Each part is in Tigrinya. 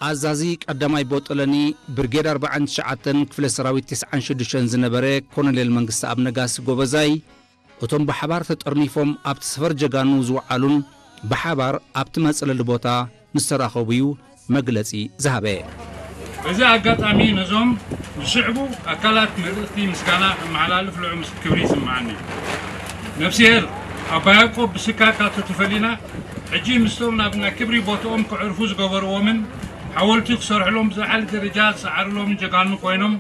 ኣዛዚ ቀዳማይ ቦጦለኒ ብርጌድ ኣርባዓን ትሽዓተን ክፍለ ሰራዊት ተስዓን ሽዱሽተን ዝነበረ ኮሎኔል መንግስተኣብ ነጋሲ ጎበዛይ፣ እቶም ብሓባር ተጠርኒፎም ኣብቲ ሰፈር ጀጋኑ ዝወዓሉን ብሓባር ኣብቲ መጽለሊ ቦታ ምስ ተራኸቡ እዩ መግለጺ ዝሃበ። በዚ ኣጋጣሚ ነዞም ዝስዕቡ ኣካላት መልእኽቲ ምስጋና ከመሓላልፍ ልዑል ምስ-፣ ክብሪ ይስምዓኒ። ነፍስሄር ኣባ ያዕቆብ ብስካ ካብቲ ተፈሊና፣ ሕጂ ምስቶም ናብ ናይ ክብሪ ቦትኦም ከዕርፉ ዝገበርዎምን ሓወልቲ ክሰርሕሎም ዝለዓለ ደረጃ ዝሰዓርሎምን ጀጋኑ ኮይኖም፣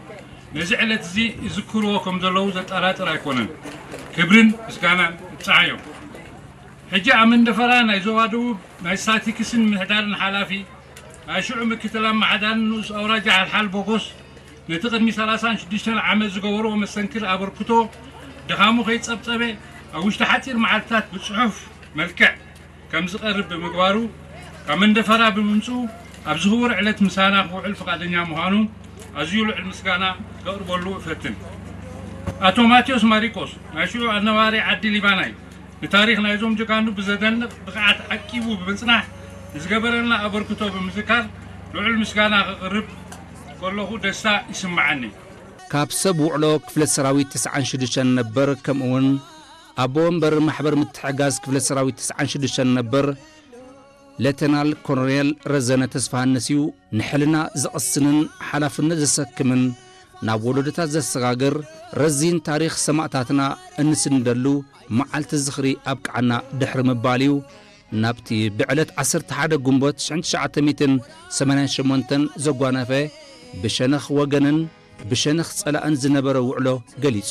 ነዚ ዕለት እዚ ይዝክርዎ ከም ዘለዉ ዘጠራጥር ኣይኮነን። ክብርን ምስጋናን ይብጽሓዮም። ሕጂ ኣብ መንደፈራ ናይ ዞባ ደቡብ ናይ ስታቲክስን ምሕዳርን ሓላፊ፣ ናይ ሽዑ ምክትል ኣመሓዳርን ንኡስ ኣውራጃ ሓልሓል ቦጎስ፣ ነቲ ቅድሚ ሰላሳን ሽዱሽተን ዓመት ዝገበርዎ መስተንክር ኣበርክቶ ድኻሙ ከይጸብጸበ፣ ኣብ ውሽጢ ሓጺር መዓልትታት ብጽሑፍ መልክዕ ከም ዝቐርብ ብምግባሩ፣ ካብ መንደፈራ ብምምጽኡ ኣብዚ ክቡር ዕለት ምሳና ክውዕል ፍቓደኛ ምዃኑ ኣዝዩ ልዑል ምስጋና ከቕርበሉ እፈትን። ኣቶ ማቴዎስ ማሪቆስ፣ ናይ ሽዑ ኣነባሪ ዓዲ ሊባናይ፣ ንታሪኽ ናይዞም ጀጋኑ ብዘደንቕ ብቕዓት ዓቂቡ ብምጽናሕ ንዝገበረልና ኣበርክቶ ብምዝካር ልዑል ምስጋና ከቕርብ ከለኹ ደስታ ይስምዓኒ። ካብ ሰብ ውዕሎ ክፍለ ሰራዊት ተስዓን ሽዱሽተን ነበር፣ ከምኡውን ኣቦ ወንበር ማሕበር ምትሕግጋዝ ክፍለ ሰራዊት ተስዓን ሽዱሽተን ነበር፣ ሌተናል ኮሎኔል ረዘነ ተስፋሃንስ እዩ። ንሕልና ዘቕስንን ሓላፍነት ዘሰክምን፣ ናብ ወለዶታት ዘሰጋግር ረዚን ታሪኽ ሰማእታትና እንስንደሉ መዓልቲ ዝኽሪ ኣብቅዓና ድሕሪ ምባል እዩ ናብቲ ብዕለት ዓሰርተ ሓደ ግንቦት ሽሕን ትሽዓተ ሚእትን ሰማንያን ሸሞንተን ዘጓነፈ ብሸነኽ ወገንን ብሸነኽ ጸላእን ዝነበረ ውዕሎ ገሊጹ።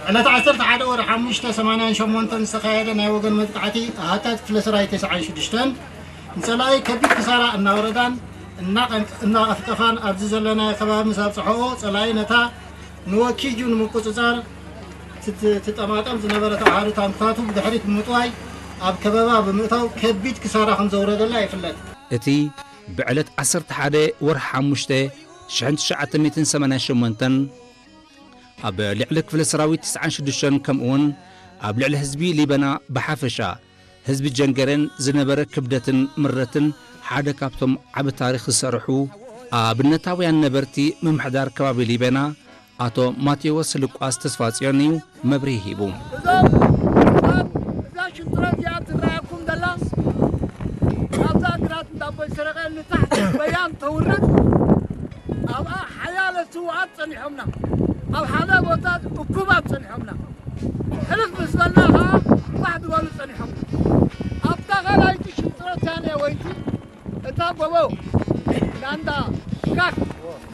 ዕለት ዓሰርተ ሓደ ወርሒ ሓሙሽተ ሰማንያን ሸሞንተን ዝተኻየደ ናይ ወገን መጥቃዕቲ ኣሃታት ክፍለ ሰራዊት ተስዓን ሽዱሽተን ንጸላኢ ከቢድ ክሳራ እናወረዳን እናቐንቀ-፣ እናቐፍቀፋን ኣብዚ ዘለናዮ ከባቢ ምስ ኣብጽሖኦ፣ ጸላኢ ነታ ንወኪጁ ንምቁጽጻር ትት-፣ ትጠማጠም ዝነበረት ኣሃዱ ታንክታቱ ብድሕሪት ብምጥዋይ ኣብ ከበባ ብምእታው ከቢድ ክሳራ ከም ዘውረደላ ይፍለጥ። እቲ ብዕለት ዓሰርተ ሓደ ወርሒ ሓሙሽተ ሽሕን ትሽዓተ ሚእትን ሰማንያን ሸሞንተን ኣብ ልዕሊ ክፍለ ሰራዊት ተስዓን ሽዱሽተን ከምኡውን ኣብ ልዕሊ ህዝቢ ሊበና ብሓፈሻ ህዝቢ ጀንገሬን ዝነበረ ክብደትን ምረትን ሓደ ካብቶም ዓቢ ታሪኽ ዝሰርሑ ኣብነታውያን ነበርቲ ምምሕዳር ከባቢ ሊበና ኣቶ ማቴዎስ ልቋስ ተስፋጽዮን እዩ መብርሂ ሂቡ። እዞም ሰባት እዛ ሽንጥሮ እዚኣ ትረኣየኩም ዘላ ካብዛ ግራት እንዳቦይ ሰረቐ ንታሕቲ በያን ተውርድ ኣብኣ ሓያለ ስውኣት ጸኒሖምና። ኣብ ሓደ ቦታ እኩባት ጸኒሖምና። ሕልፍ ምስ በልና ኸዓ ፋሕ ዝበሉ ጸኒሖምና። ኣብታ ካልኣይቲ ሽንጥሮ ታንያ ወይቲ እታ ጎቦ ናንዳ ጋክ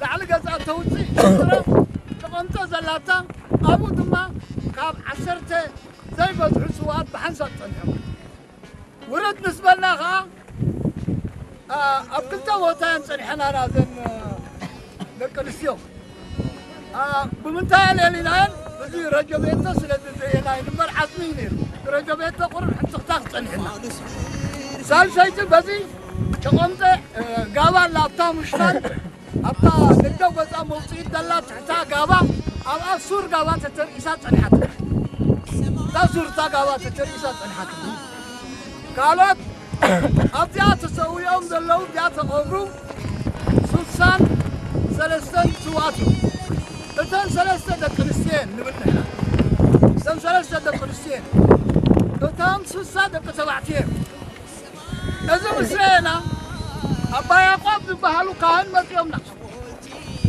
ላዕሊ ገጻ ተውፅእ ሽንጥሮ ተቐምጦ ዘላታ ኣብኡ ድማ ካብ ዓሰርተ ዘይበዝሑ ስውኣት ብሓንሳብ ጸኒሖም። ውርድ ምስ በልና ኸዓ ኣብ ክልተ ቦታ እየን ጸኒሐናና እዘን ደቂ ኣንስትዮ። ብምንታይ ኣልዒልናየን? እዚ ረጀቤቶ ስለ ዘየናይ እምበር ዓጽሚ እዩ ነይሩ። ረጀቤቶ ቁሩብ ሕንጽኽታ ክጸኒሕና። ሳልሰይቲ በዚ ጨቐምጠ ጋባ ኣላ ኣብታ ምሽፋን ኣብታ ንግደ ጎጻ መውጽኢት ዘላ ትሕታ ጋባ ኣብኣ ሱር ጋባ ተተርኢሳ ጸኒሓት። እታ ሱር እታ ጋባ ተተርኢሳ ጸኒሓት። ካልኦት ኣብዚኣ ተሰዊኦም ዘለዉ እዚኣ ተቐብሩ ስሳን ሰለስተን ስውኣት እዮም። እተን ሰለስተ ደቂ ኣንስትዮ እየን ንብል ንሕና። እተን ሰለስተ ደቂ ኣንስትዮ እየን። እቶም ስሳ ደቂ ተባዕትዮ እዮም። እዚ ምስ ረኣና ኣባ ያዕቆብ ዝበሃሉ ካህን መጺኦም